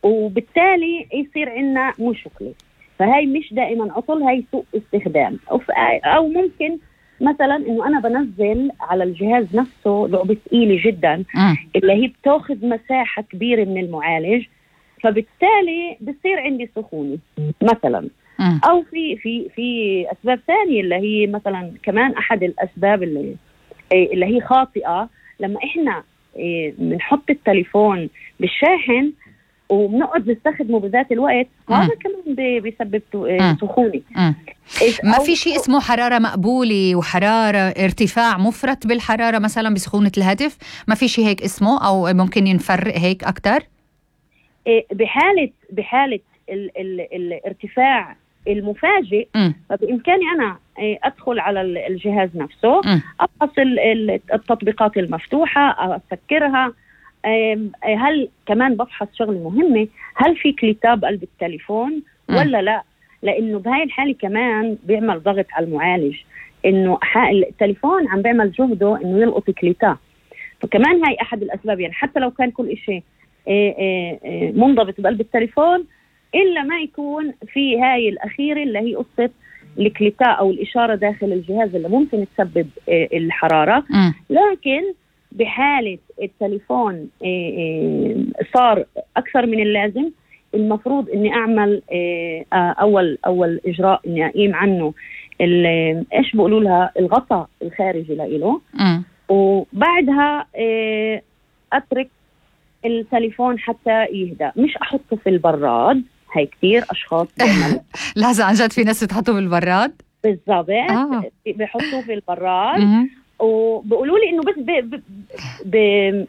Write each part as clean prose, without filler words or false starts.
وبالتالي يصير عندنا مشكلة. فهي مش دائما عطل، هي سوء استخدام. أو ممكن مثلا إنه أنا بنزل على الجهاز نفسه لعبة ثقيلة جدا اللي هي بتاخذ مساحة كبيرة من المعالج، فبالتالي بصير عندي سخونة مثلا. أو في أسباب ثانية اللي هي مثلا كمان أحد الأسباب اللي هي خاطئة، لما إحنا بنحط التليفون بالشاحن وبنقعد نستخدمه بذات الوقت، هذا كمان بيسبب سخونة. ما في شيء اسمه حرارة مقبولة وحرارة ارتفاع مفرط بالحرارة مثلا بسخونة الهاتف؟ ما في شيء هيك اسمه، أو ممكن ينفرق هيك أكتر؟ بحالة الارتفاع المفاجئ فبإمكاني أنا أدخل على الجهاز نفسه، أفحص التطبيقات المفتوحة، أسكرها. هل كمان بفحص شغلة مهمة، هل في كليتاب قلب التليفون ولا لا؟ لأنه بهاي الحالة كمان بيعمل ضغط على المعالج، إنه التليفون عم بيعمل جهده إنه يلقط كليتاب. فكمان هاي أحد الأسباب، يعني حتى لو كان كل إشي منضبط بقلب التليفون إلا ما يكون في هاي الأخيرة اللي هي قصة الكليتاء أو الإشارة داخل الجهاز اللي ممكن تسبب الحرارة. لكن بحالة التليفون صار أكثر من اللازم، المفروض إني أعمل أول إجراء إني أقيم عنه إيش بقولوا لها الغطاء الخارجي لإله، وبعدها أترك التليفون حتى يهدأ، مش أحطه في البراد. هاي كتير أشخاص بيعملوا لازم عن جد في ناس بتحطه بالبراد بالضبط. بيحطوه في البراد وبقولوا لي إنه بس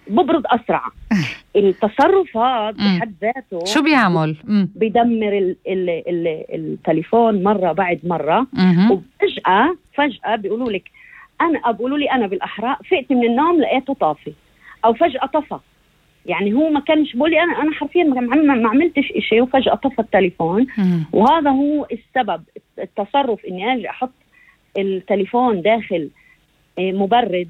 ببرد أسرع. التصرفات بحد ذاته شو بيعمل؟ بيدمر التليفون مرة بعد مرة. وفجأة بيقولوا لك بيقولوا لي أنا بالأحرى فقت من النوم لقيته طافي، أو فجأة طفى. يعني هو ما كانش بقولي أنا حرفيا ما عملتش إشي وفجأة طفى التليفون. وهذا هو السبب، التصرف إني أجي أحط التليفون داخل مبرد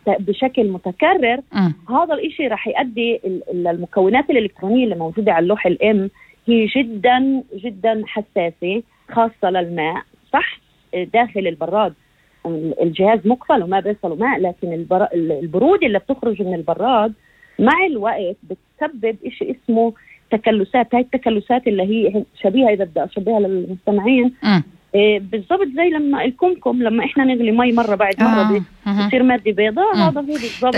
بشكل متكرر. هذا الإشي راح يؤدي المكونات الإلكترونية اللي موجودة على اللوح الإم هي جدا جدا حساسة، خاصة للماء. صح داخل البراد الجهاز مقفل وما بيصله ماء، لكن البرودة اللي بتخرج من البراد مع الوقت بتسبب إشي اسمه تكلسات. هاي التكلسات اللي هي شبيهة، إذا بدي أشبهها للمستمعين، بالضبط زي لما الكمكم لما إحنا نغلي مي مرة بعد مرة بتصير مادة بيضاء. هذا هو بالضبط.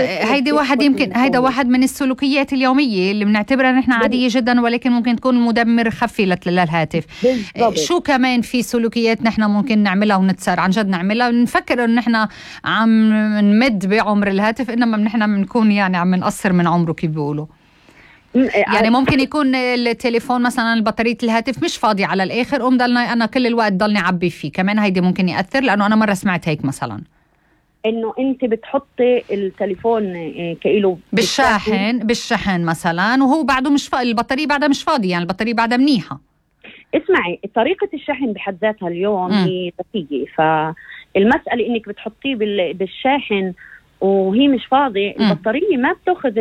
هيدا واحد من السلوكيات اليومية اللي بنعتبرها نحن عادية جدا، ولكن ممكن تكون مدمر خفي للهاتف. شو كمان في سلوكيات نحن ممكن نعملها ونتسار عن جد نعملها، نفكر إن نحن عم نمد بعمر الهاتف، إنما نحن بنكون يعني عم نقصر من عمره كيف بيقولوا. يعني ممكن يكون التليفون مثلا البطارية الهاتف مش فاضي على الآخر، أنا كل الوقت ضلني عبي فيه. كمان هيدي ممكن يأثر، لأنه أنا مرة سمعت هيك مثلا إنه أنت بتحطي التليفون كإله بالشحن مثلا، وهو بعده مش فاضي، البطارية بعدها مش فاضي، يعني البطارية بعدها منيحة. اسمعي، طريقة الشحن بحد ذاتها اليوم هي ذكية. فالمسألة إنك بتحطيه بالشاحن وهي مش فاضي، البطارية ما بتأخذ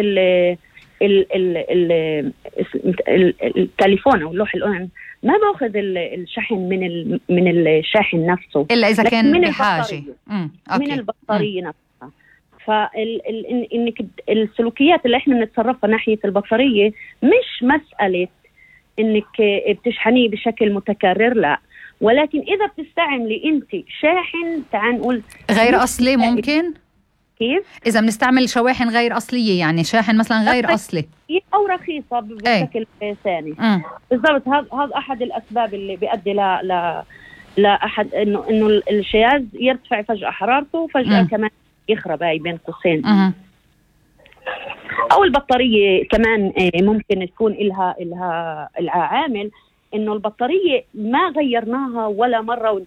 التليفون او اللوح الام ما باخذ الشحن من الشاحن نفسه الا اذا كان من بحاجه من البطاريه نفسها. فانك السلوكيات اللي احنا بنتصرفها ناحيه البطاريه مش مساله انك بتشحنيه بشكل متكرر، لا، ولكن اذا بتستعملي انت شاحن تعال نقول غير اصلي، ممكن كيف إذا بنستعمل شواحن غير أصلية، يعني شاحن مثلا غير أصلي أو رخيصة بشكل ثاني. بالضبط. هذا أحد الأسباب اللي بيؤدي لا أحد إنه الجهاز يرتفع فجأة حرارته وفجأة كمان يخرب، هاي بين قوسين. أو البطارية كمان ممكن تكون إلها عامل إنه البطارية ما غيرناها ولا مرة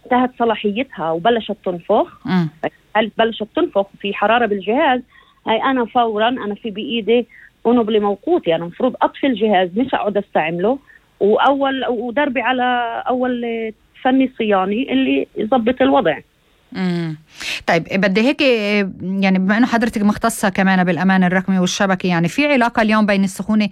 انتهت صلاحيتها وبلشت تنفخ. هل بلشت تنفخ في حرارة بالجهاز، هاي أنا فورا أنا في بإيدي ونبلي موقوتي، أنا مفروض أطفي الجهاز مش أقعد أستعمله، ودربي على أول فني صياني اللي يضبط الوضع. طيب بدي هيك يعني بما أنه حضرتك مختصة كمان بالأمان الرقمي والشبكي، يعني في علاقة اليوم بين السخونة